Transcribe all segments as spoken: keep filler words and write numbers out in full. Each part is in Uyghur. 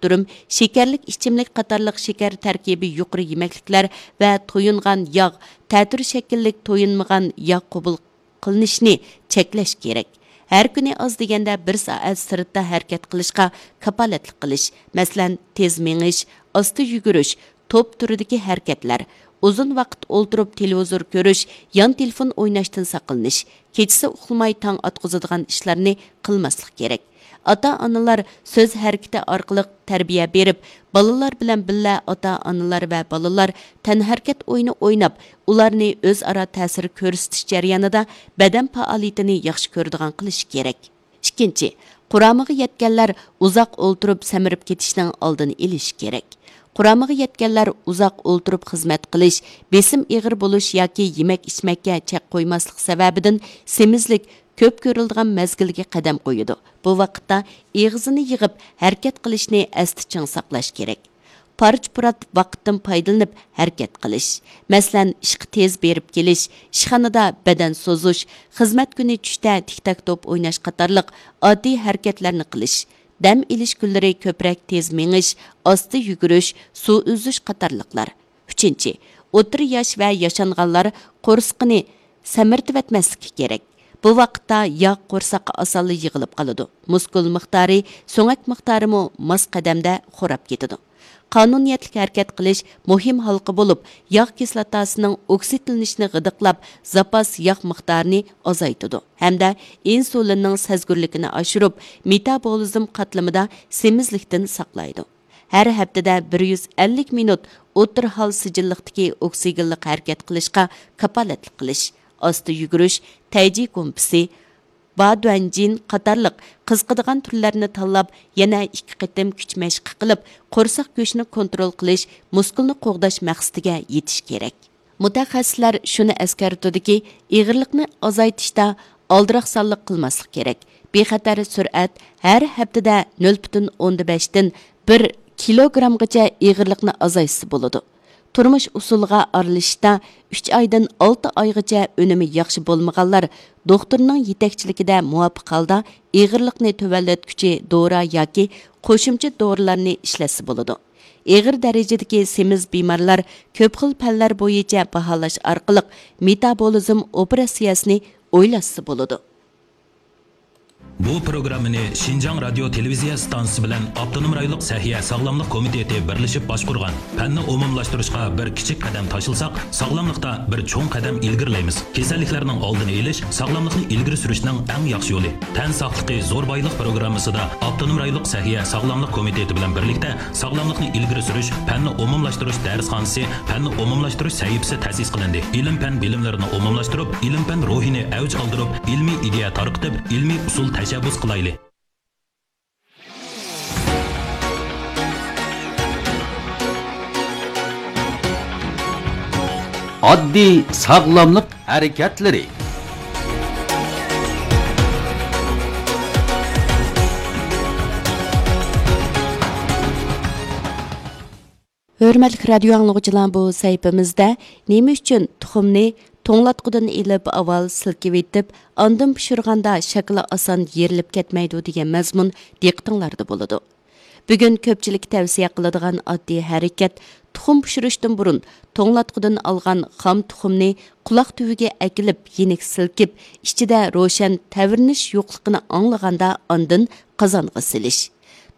ئۇتتۇرۇم، شېكەرلىك ئىچىملىك قاتارلىق شېكەر تەركىبى يۇقىرى يېمەكلىكلەر ۋە تويۇنغان ياغ، تەتۈر شەكىللىك تويۇنمىغان ياغ قوبۇل قىلىنىشنى چەكلەش كېرەك. ھەر كۈنى ئاز دېگەندە بىر سائەت سىرتتا ھەرىكەت قىلىشقا كاپالەتلىك قىلىش، مەسىلەن، تېز مېڭىش، ئاستا يۈگۈرۈش، توپ تۈرىدىكى ھەرىكەتلەر، ئۇزۇن ۋاقىت ئولتۇرۇپ تېلېۋىزور كۆرۈش، يان تېلېفون ئويناشتىن ساقلىنىش، كېچىسى ئۇخلىماي تاڭ ئاتقۇزىدىغان ئىشلارنى قىلماسلىق كېرەك. ئاتا-ئانىلار سۆز ھەرىكىتى ئارقىلىق تەربىيە بېرىپ، بالىلار بىلەن بىللە ئاتا-ئانىلار ۋە بالىلار تەنھەرىكەت ئويۇنى ئويناپ، ئۇلارنى ئۆزئارا تەسىر كۆرسىتىش جەريانىدا بەدەن پائالىيىتىنى ياخشى كۆرىدىغان قىلىشى كېرەك. ئىككىنچى، قۇرامىغا يەتكەنلەر ئۇزاق ئولتۇرۇپ سەمرىپ كېتىشنىڭ ئالدىنى ئېلىشى كېرەك. قۇرامىغا يەتكەنلەر ئۇزاق ئولتۇرۇپ خىزمەت قىلىش، بېسىم ئېغىر بولۇش ياكى يېمەك-ئىچمەككە چەك قويماسلىق سەۋەبىدىن سېمىزلىك كۆپ كۆرۈلىدىغان مەزگىلگە قەدەم قويىدۇ. بۇ ۋاقىتتا ئېغىزىنى يىغىپ ھەرىكەت قىلىشنى ئەستە چىڭ ساقلاش كېرەك. پارچە-پۇرات ۋاقىتتىن پايدىلىنىپ ھەرىكەت قىلىش، مەسىلەن، ئىشقا تېز بېرىپ كېلىش، ئىشخانىدا بەدەن سوزۇش، خىزمەت كۈنى چۈشتە تىك-تاك توپ ئويناش قاتارلىق ئاددىي ھەرىكەتلەرنى قىلىش، دەم ئېلىش كۈنلىرى كۆپرەك تېز مېڭىش، ئاستا يۈگۈرۈش، سۇ ئۈزۈش قاتارلىقلار. ئۈچىنچى، ئوتتۇرا ياش ۋە ياشانغانلار قورسىقىنى سەمرىتىۋەتمەسلىكى كېرەك. بۇ ۋاقىتتا ياغ قورساققا ئاسانلا يىغىلىپ قالىدۇ. مۇسكۇل مىقدارى، سۆڭەك مىقدارىمۇ ماس قەدەمدە خوراپ كېتىدۇ. قانۇنىيەتلىك ھەرىكەت قىلىش مۇھىم ھالقا بولۇپ، ياغ كىسلاتاسىنىڭ ئوكسىدلىنىشىنى غىدىقلاپ، زاپاس ياغ مىقدارىنى ئازايتىدۇ ھەمدە ئىنسۇلىننىڭ سەزگۈرلۈكىنى ئاشۇرۇپ، مېتابولىزم قاتلىمىدا سېمىزلىكتىن ساقلايدۇ. ھەر ھەپتىدە بىر يۈز ئەللىك مىنۇت ئوتتۇرا ھال سىجىللىقتىكى ئوكسىگېنلىق ھەرىكەت قىلىشقا كاپالەتلىك قىلىش، ئاستا يۈگۈرۈش، تەيجى گۇمپىسى، بادۇەنجىن قاتارلىق قىزىقىدىغان تۈرلەرنى تاللاپ، يەنە ئىككى قېتىم كۈچ مەشقى قىلىپ، قورساق گۆشىنى كونترول قىلىش، مۇسكۇلنى قوغداش مەقسىتىگە يېتىش كېرەك. مۇتەخەسسىسلەر شۇنى ئەسكەرتىدۇكى، ئېغىرلىقنى ئازايتىشتا ئالدىراقسانلىق قىلماسلىق كېرەك. بىخەتەر سۈرئەت ھەر ھەپتىدە نۆل پۈتۈن ئوندىن بەشتىن بىر كىلوگرامغىچە ئېغىرلىقنى ئازايتسا بولىدۇ. تۇرمۇش ئۇسۇلىغا ئارىلىشىشتا ئۈچ ئايدىن ئالتە ئايغىچە ئۈنۈمى ياخشى بولمىغانلار دوختۇرنىڭ يېتەكچىلىكىدە مۇۋاپىق ھالدا ئېغىرلىقنى تۆۋەنلەتكۈچى دورا ياكى قوشۇمچە دورىلارنى ئىشلەتسە بولىدۇ. ئېغىر دەرىجىدىكى سېمىز بىمارلار كۆپ خىل پەنلەر بويىچە باھالاش ئارقىلىق مېتابولىزم ئوپېراتسىيەسىنى ئويلاشسا بولىدۇ. بۇ پروگراممىنى شىنجاڭ رادىيو تېلېۋىزىيە ئىستانسىسى بىلەن ئاپتونوم رايونلۇق سەھىيە ساغلاملىق كومىتېتى بىرلىشىپ باشقۇرغان. پەننى ئومۇملاشتۇرۇشقا بىر كىچىك قەدەم تاشلىساق، ساغلاملىقتا بىر چوڭ قەدەم ئىلگىرىلەيمىز. كېسەللىكلەرنىڭ ئالدىنى ئېلىش، ساغلاملىقنى ئىلگىرى سۈرۈشنىڭ ئەڭ ياخشى يولى. تەن ساقلىقى زور بايلىق پروگراممىسىدا ئاپتونوم رايونلۇق سەھىيە ساغلاملىق كومىتېتى بىلەن بىرلىكتە ساغلاملىقنى ئىلگىرى سۈرۈش، پەننى ئومۇملاشتۇرۇش دەرسخانىسى، پەننى ئومۇملاشتۇرۇش سەھىپىسى تەسىس قىلىندى. ئىلىم-پەن بىلىملىرىنى ئومۇملاشتۇرۇپ، ئىلىم-پەن روھىنى ئەۋج ئالدۇرۇپ، ئىلمىي ئىدىيە تارقىتىپ، ئىلمىي ئۇسۇل تەشەببۇس قىلايلى. ئاددىي ساغلاملىق ھەرىكەتلىرى. ھۆرمەتلىك رادىيو ئاڭلىغۇچىلار، بۇ سەھىپىمىزدە نېمە ئۈچۈن تۇخۇمنى توڭلاتقۇدىن ئېلىپ ئاۋۋال سىلكىۋېتىپ، ئاندىن پىشۇرغاندا شاكىلى ئاسان يېرىلىپ كەتمەيدۇ دېگەن مەزمۇن دىققىتىڭلاردا بولىدۇ. بۈگۈن كۆپچىلىككە تەۋسىيە قىلىدىغان ئاددىي ھەرىكەت، تۇخۇم پىشۇرۇشتىن بۇرۇن توڭلاتقۇدىن ئالغان خام تۇخۇمنى قۇلاق تۈۋىگە ئەكېلىپ، يېنىك سىلكىپ، ئىچىدە روشەن تەۋرىنىش يوقلۇقىنى ئاڭلىغاندا ئاندىن قازانغا سېلىش.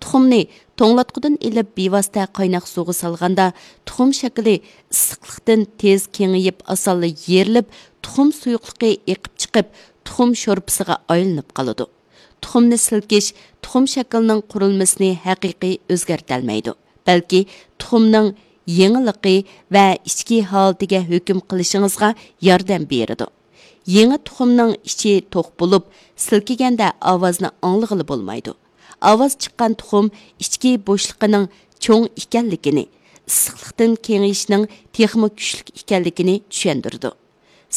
تۇخۇمنى توڭلاتقۇدىن ئېلىپ بىۋاسىتە قايناق سۇغا سالغاندا، تۇخۇم شاكىلى ئىسسىقلىقتىن تېز كېڭىيىپ، ئاسانلا يېرىلىپ، تۇخۇم سۇيۇقلۇقى ئېقىپ چىقىپ، تۇخۇم شورپىسىغا ئايلىنىپ قالىدۇ. تۇخۇمنى سىلكىش تۇخۇم شەكلىنىڭ قۇرۇلمىسىنى ھەقىقىي ئۆزگەرتەلمەيدۇ، بەلكى تۇخۇمنىڭ يېڭىلىقى ۋە ئىچكى ھالىتىگە ھۆكۈم قىلىشىڭىزغا ياردەم بېرىدۇ. يېڭى تۇخۇمنىڭ ئىچى توق بولۇپ، سىلكىگەندە ئاۋازنى ئاڭلىغىلى بولمايدۇ. ئاۋاز چىققان تۇخۇم ئىچكى بوشلۇقىنىڭ چوڭ ئىكەنلىكىنى، ئىسسىقلىقتىن كېڭىيىشنىڭ تېخىمۇ كۈچلۈك ئىكەنلىكىنى چۈشەندۈرىدۇ.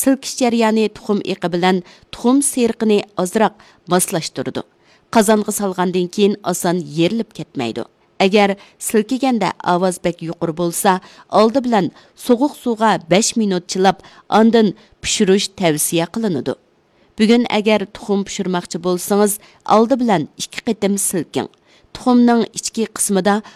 سىلكىش جەريانى تۇخۇم ئېقى بىلەن تۇخۇم سېرىقىنى ئازراق ماسلاشتۇرىدۇ. قازانغا سالغاندىن كېيىن ئاسان يېرىلىپ كەتمەيدۇ. ئەگەر سىلكىگەندە ئاۋاز بەك يۇقىرى بولسا، ئالدى بىلەن سوغۇق سۇغا بەش مىنۇت چىلاپ، ئاندىن پىشۇرۇش تەۋسىيە قىلىنىدۇ. بۈگۈن ئەگەر تۇخۇم پىشۇرماقچى بولسىڭىز، ئالدى بىلەن ئىككى قېتىم سىلكىڭ. تۇخۇمنىڭ ئىچكى قىسمىدا